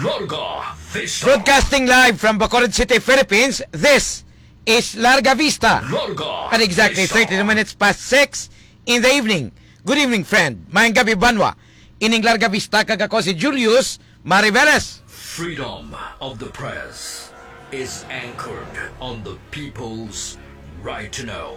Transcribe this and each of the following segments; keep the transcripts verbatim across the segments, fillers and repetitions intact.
Larga Vista. Broadcasting live from Bacolod City, Philippines, this is Larga Vista. Larga At exactly Vista. thirty minutes past six in the evening. Good evening, friend. Maayong gabi, banwa. Ining Larga Vista, kag ako si Julius Mariveles. Freedom of the press is anchored on the people's right to know.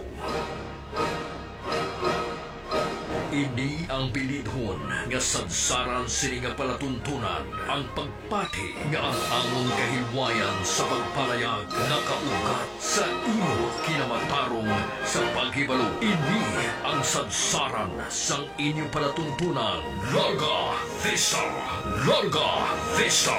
Ini ang bilidhon nga sadsaran sini nga palatuntunan, ang pagpati nga ang amon kahilwayan sa pagpalayag nakaugat sa imo kinamatarong sa paghibalo. Ini ang sadsaran sang inyo palatuntunan. Larga Vista! Larga Vista!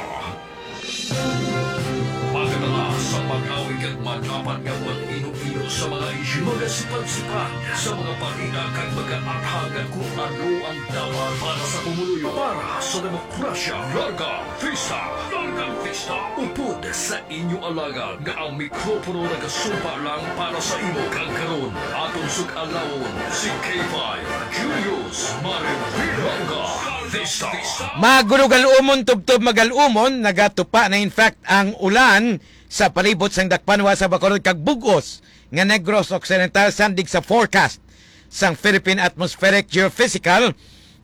Magdala sa pagawig kag madapat nga pag-ino-ino sa mga isyu, magasipad-sipad sa mga balita kag magaathag kung ano ang dapat para sa pumuluyo, para sa demokrasya. Larga Vista! Larga Vista! Upod sa inyo alagad nga ang mikropono nagasumpa lang para sa imo. Kag karon, aton sug-alawon si K five Julius Marivil. Larga Vista! Magulo gal-umon, tubtob magal-umon, nagatupa na in fact ang ulan sa palibot sang dakpanwa sa Bacolod kag bug-os nga Negros Occidental, sandig sa forecast sang Philippine Atmospheric, Geophysical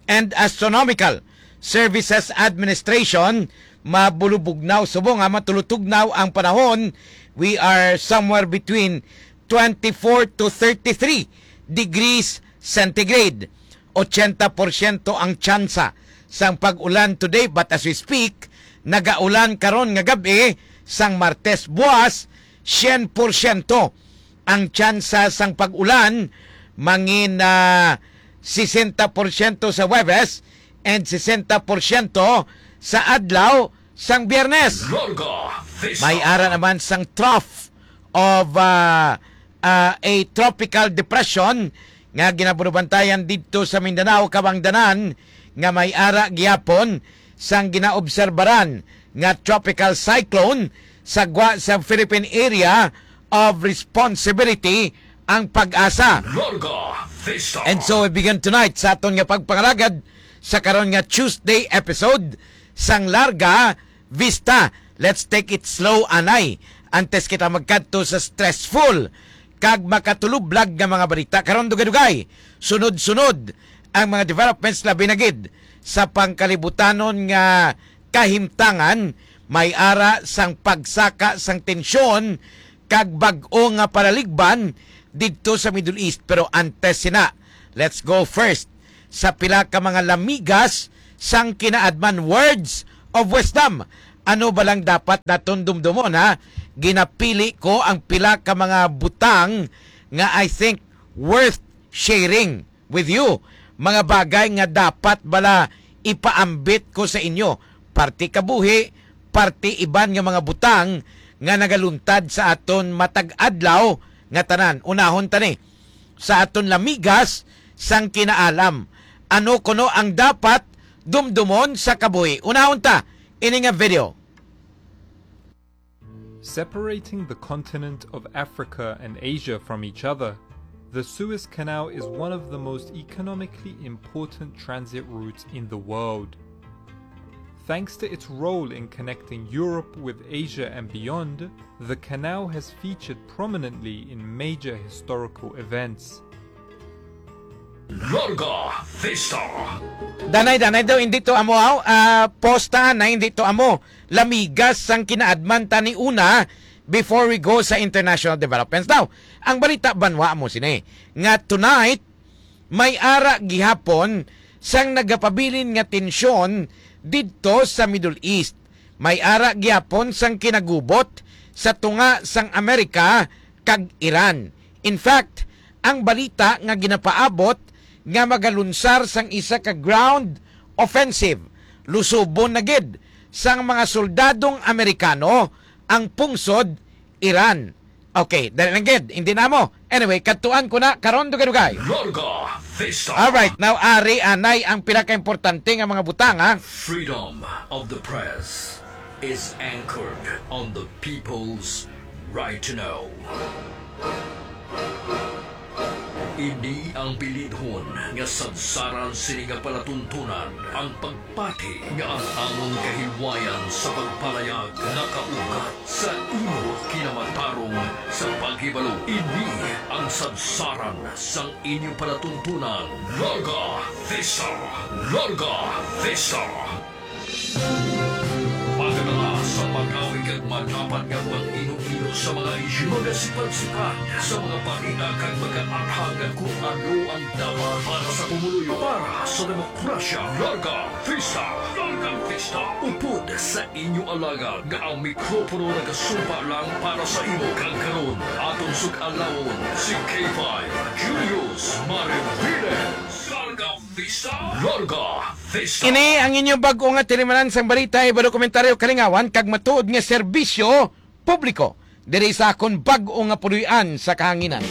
and Astronomical Services Administration. Mabulubugnaw subong nga matulutugnaw ang panahon. We are somewhere between twenty-four to thirty-three degrees centigrade. Ochenta porsyento ang tsansa sang pag-ulan today, but as we speak, nagaulan karon nga gab-i sang Martes. Buwas, syen porsyento ang tsansa sang pag-ulan, mangin, ah, sesenta porsyento sa Huwebes and sesenta porsyento sa adlaw sang Biyernes. Larga Vista. May ara naman sang trough of, ah, ah, a tropical depression nga ginabunubantayan didto sa Mindanao, kabangdanan nga may ara gihapon sang ginaobserbaran nga tropical cyclone sa gwa sa Philippine Area of Responsibility ang PAGASA. Larga Vista. And so we begin tonight sa aton nga pagpangalagad sa karon nga Tuesday episode sang Larga Vista. Let's take it slow, anay, antes kita magkadto sa stressful kag makatulublag nga mga balita. Karon, dugay-dugay, sunod-sunod ang mga developments, labi na gid sa pangkalibutanon nga kahimtangan, may ara sang pagsaka sang tensyon kag bag-o nga palaligban didto sa Middle East. Pero antes sina, let's go first sa pila ka mga lamigas sang kinaadman, words of wisdom. Ano ba lang dapat naton dumdumon, ha? Ginapili ko ang pila ka mga butang nga I think worth sharing with you. Mga bagay nga dapat bala ipaambit ko sa inyo. Parte kabuhi, parte iban nga mga butang nga nagaluntad sa aton matag adlaw nga tanan. Unahon ta ni sa aton lamigas sang kinaalam. Ano kuno ang dapat dumdumon sa kabuhi? Unahon ta ini nga video. Separating the continent of Africa and Asia from each other, the Suez Canal is one of the most economically important transit routes in the world. Thanks to its role in connecting Europe with Asia and beyond, the canal has featured prominently in major historical events. Larga Vista. Danay, danay daw, hindi to amo, aw, ah, posta na hindi to amo. Lamigas sang kinaadman ta ni una before we go sa international developments. Now, ang balita banwa mo sini, nga tonight, may ara gihapon sang nagapabilin nga tensyon didto sa Middle East. May ara gihapon sang kinagubot sa tunga sang Amerika kag Iran. In fact, ang balita nga ginapaabot nga magalunsar sang isa ka ground offensive, lusubon na gid sang mga soldadong Amerikano ang pungsod Iran. Okay, dali lang gid, hindi na mo. Anyway, kadtuan ko na karon, dugay-dugay. Larga Vista. All right, now, ari anay ang pinakaimportante nga mga butang, ha? Freedom of the press is anchored on the people's right to know. Ini ang bilidhon nga sadsaran sini nga palatuntunan, ang pagpati nga ang amon kahilwayan sa pagpalayag nakaugat sa imo kinamatarong sa paghibalo. Ini ang sadsaran sang inyo palatuntunan. Larga Vista! Larga Vista! Pagdala sa pag-awig kag madapat nga pag-ino-ino sa mga isyu, magasipad-sipad sa mga balita kag magaathag kung ano ang dapat para sa pumuluyo, para sa demokrasya. Larga Vista! Larga Vista! Upod sa inyo alagad nga ang mikropono nagasumpa lang para sa imo, kag karon aton sug-alawon si K five Julius Mariviles. Larga Vista! Larga Vista! Ini ang inyong bag-o nga tinimanan sang balita, iba dokumentario, kalingawan, kag matuod nga serbisyo publiko diri sa akon bag-o nga puloy-an sa kahanginan.